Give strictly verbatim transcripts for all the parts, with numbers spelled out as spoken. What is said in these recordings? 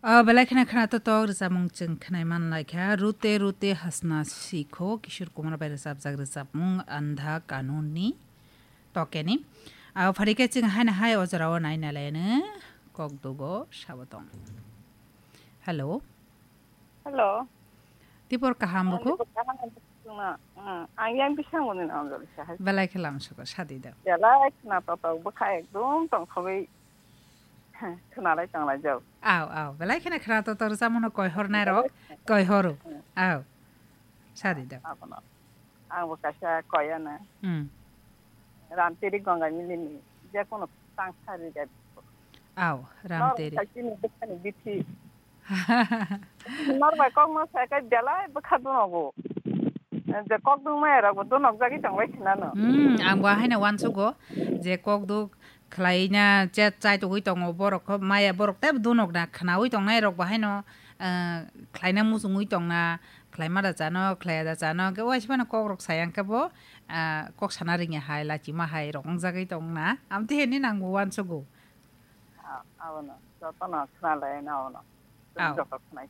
O belai kheno khwnato tok rwchapmung chwng khwnai man lai kha. Rute rute hasna sikho Kishore Kumar bai rwchapjak rwchapmung Andha Kanun ni tokeni. Abo phari khe chwng haino hai o jorao nai nai lai no kok dugo sabo tong. Hello. Hello. Tipor kaham bukhuk? Ang yang bisang muni na onjol sa hai. Belai khe lam suko sadi da. Belai khwnato tok bwkha ekdom tongthogwi khwnalai tanglai jao. Aw, aw. Belai kheno khwnato tok rwchapmung no koi hor nai rok, koi horo. Aw. Sadi da. Abono. Ang bo kaisa koyana. Hmm. Ramteri Ganga Mili ni je kono tang sari ga. Aw, Ramteri. Nor kaisi ni bwkhani bithi. Nor bai kok no sai kai belai bwkha dunogo. Je kok dung maya rok bo dunok jagwi tong bai khna no. Hmm, ang bo haino wansugo je kok duk khlai na chat chai tugui tongo borok kho maya borok tei dunok na khnaui tongnai rok bo haino, ah, khlaina muchungui tongna. Khlaima da chano, khlaiya da chano, hwnkhe waisa phano kokrok saya hwnkhe bo, ah, kok sana rwngya hai, lachima hai rok wngjagwi tongna. Amtwi hwnwi nangbo uansugo. Ah, abono, jotono khwnalai na abono. Aw. Joto khwnai.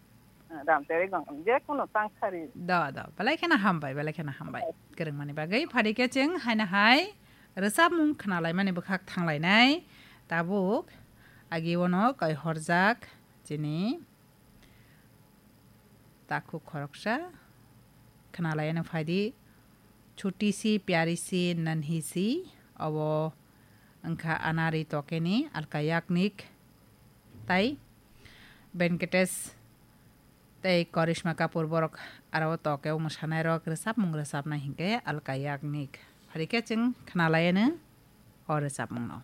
Ah, Ramteri Gangam, je kono tang sari. Do, do, belai kheno hambai, belai kheno hambai. Kwrwngmani bagwi phari khe chwng haino hai rwchapmung khwnalaimani bwkhak thanglainai. Tabuk agi ono koi horjak chini Takhuk khoroksa khwnalaiyano phaidi, "Chuti si pyari si nanhi si," obo wngkha Anari Tokeni Alka Yagnik, tai Venkatesh tei Karishma Kapoor borok aro Tokeo mwsanairok rwchapmung rwchapnai hinkhe Alka Yagnik. Phari khe chwng khwnalaiyano o rwchapmungno.